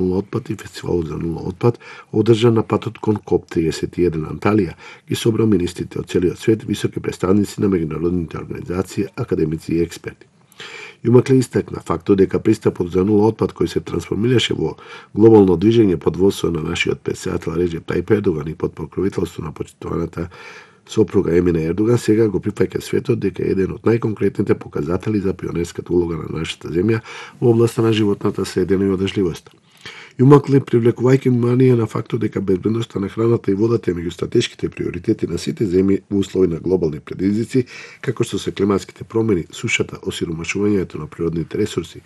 отпад и фестивалот за нула отпад, одржан на патот кон КОП-31 Анталија, ги собра министрите од целиот свет, високи представници на меѓународните организации, академици и експерти. Јумакле истакна фактот дека пристапот за нула отпад кој се трансформираше во глобално движење под водство на нашиот претседател Реџеп Тајип Ердоган и под покровителство на почитуваната сопруга Емине Ердоган сега го прифаќа светот дека е еден од најконкретните показатели за пионерската улога на нашата земја во областа на животната средина и одржливоста. Јумакле, привлекувајќи внимание на фактот дека безбедноста на храната и водата е меѓу стратешките приоритети на сите земји во услови на глобални предизвици, како што се климатските промени, сушата, осиромашувањето на природните ресурси,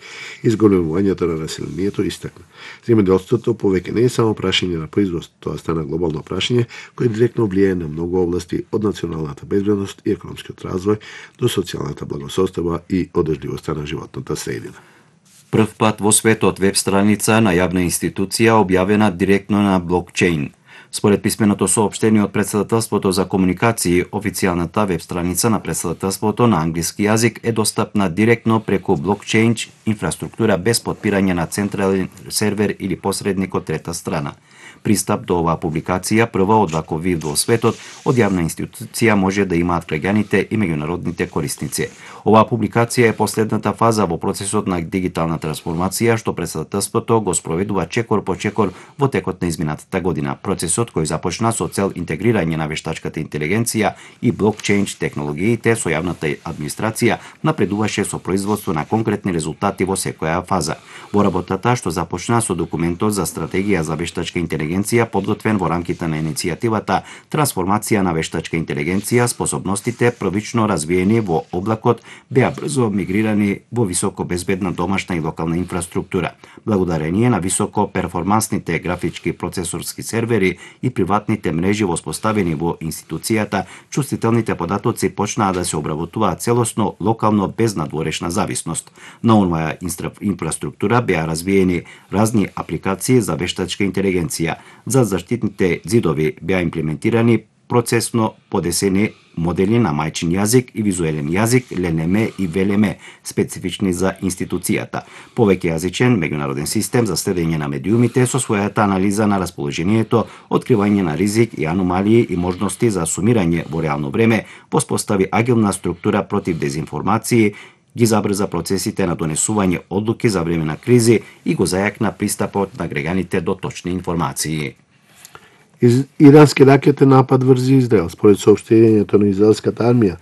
изголемувањето на населението, истакна. Земјоделството повеќе не е само прашање на производ, тоа стана глобално прашање кој директно влијае на многу области од националната безбедност и економскиот развој до социјалната благосостојба и одржливоста на животната средина. Прв пат во светот веб страница на јавна институција објавена директно на блокчейн. Според писменото соопштение од Претседателството за комуникации, официјалната веб страница на Претседателството на англиски јазик е достапна директно преку блокчейн инфраструктура без подпирање на централен сервер или посредник од трета страна. Пристап до оваа публикација, прва од ваков вид во светот, од јавна институција може да имаат граѓаните и меѓународните корисници. Оваа публикација е последната фаза во процесот на дигитална трансформација што Претседателството го спроведува чекор по чекор во текот на изминатата година. Процесот кој започна со цел интегрирање на вештачката интелигенција и блокчейн технологиите со јавната администрација напредуваше со производство на конкретни резултати во секоја фаза. Во работата што започна со документот за стратегија за вештачка интелигенција подготвен во рамките на иницијативата Трансформација на вештачка интелигенција, способностите првично развиени во облакот беа брзо мигрирани во високо безбедна домашна и локална инфраструктура. Благодарение на високо перформансните графички процесорски сервери и приватните мрежи воспоставени во институцијата, чувствителните податоци почнаа да се обработуваат целосно, локално, без надворешна зависност. На онваа инфраструктура беа развиени разни апликации за вештачка интелигенција. За заштитните ѕидови беа имплементирани процесно подесени модели на мајчин јазик и визуелен јазик, ЛНМ и ВЛМ, специфични за институцијата. Повеќе јазичен меѓународен систем за следење на медиумите со својата анализа на расположението, откривање на ризик и аномалии и можности за сумирање во реално време, воспостави агилна структура против дезинформации, ги забрза процесите на донесување одлуки за време на кризи и го зајакна пристапот на граѓаните до точни информации. Ирански ракетен напад врз Израел. Според соопштението на израелската армија,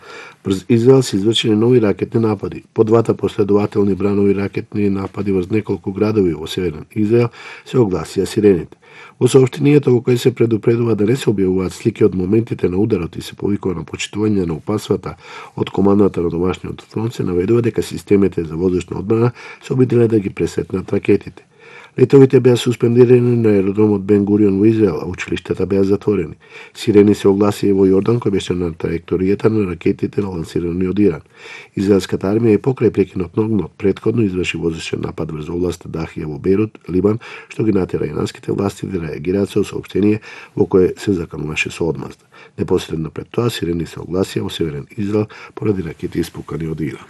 врз Израел се извршени нови ракетни напади. По двата последователни бранови ракетни напади врз неколку градови во северен Израел се огласија сирените. Во соопштението во кој се предупредува да не се објавуваат слики од моментите на ударот и се повикува на почитување на опасвата од командата на домашниот фронт, се наведува дека системите за воздушна одбрана се обиделе да ги пресетнат ракетите. Летовите беа суспендирани на аеродромот Бен Гурион во Израел, а училиштата беа затворени. Сирени се огласија во Јордан, кој беше на траекторијата на ракетите лансирани од Иран. Израелската армија и покрај прекинот на огнот предходно изврши воздушен напад врз областа Дахија во Бејрут, Либан, што ги натера иранските власти да реагираат со соопштение во кое се закануваше со одмазда. Непосредно пред тоа сирени се огласија во северен Израел поради ракети испукани од Иран.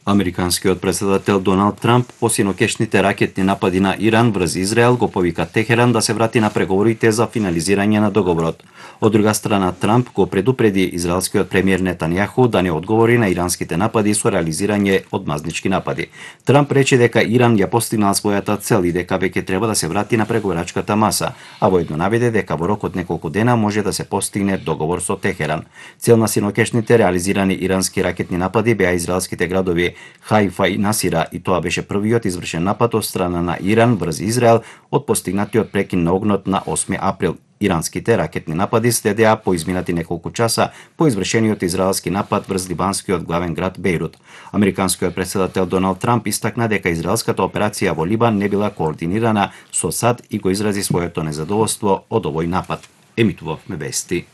Американскиот претседател Доналд Трамп по синокешните ракетни напади на Иран врз Израел го повика Техеран да се врати на преговорите за финализирање на договорот. Од друга страна, Трамп го предупреди израелскиот премиер Нетањаху да не одговори на иранските напади со реализирање одмазнички напади. Трамп рече дека Иран ја постигнал својата цел и дека веќе треба да се врати на преговарачката маса, а воедно наведе дека во рок од неколку дена може да се постигне договор со Техеран. Цел на синокешните реализирани ирански ракетни напади беа израелските градови Хајфа и Насира, и тоа беше првиот извршен напад од страна на Иран врз Израел од постигнатиот прекин на огнот на 8 април. Иранските ракетни напади следеа по изминати неколку часа по извршениот израелски напад врз либанскиот главен град Бејрут. Американскиот претседател Доналд Трамп истакна дека израелската операција во Либан не била координирана со САД и го изрази своето незадоволство од овој напад. Емитувавме вести.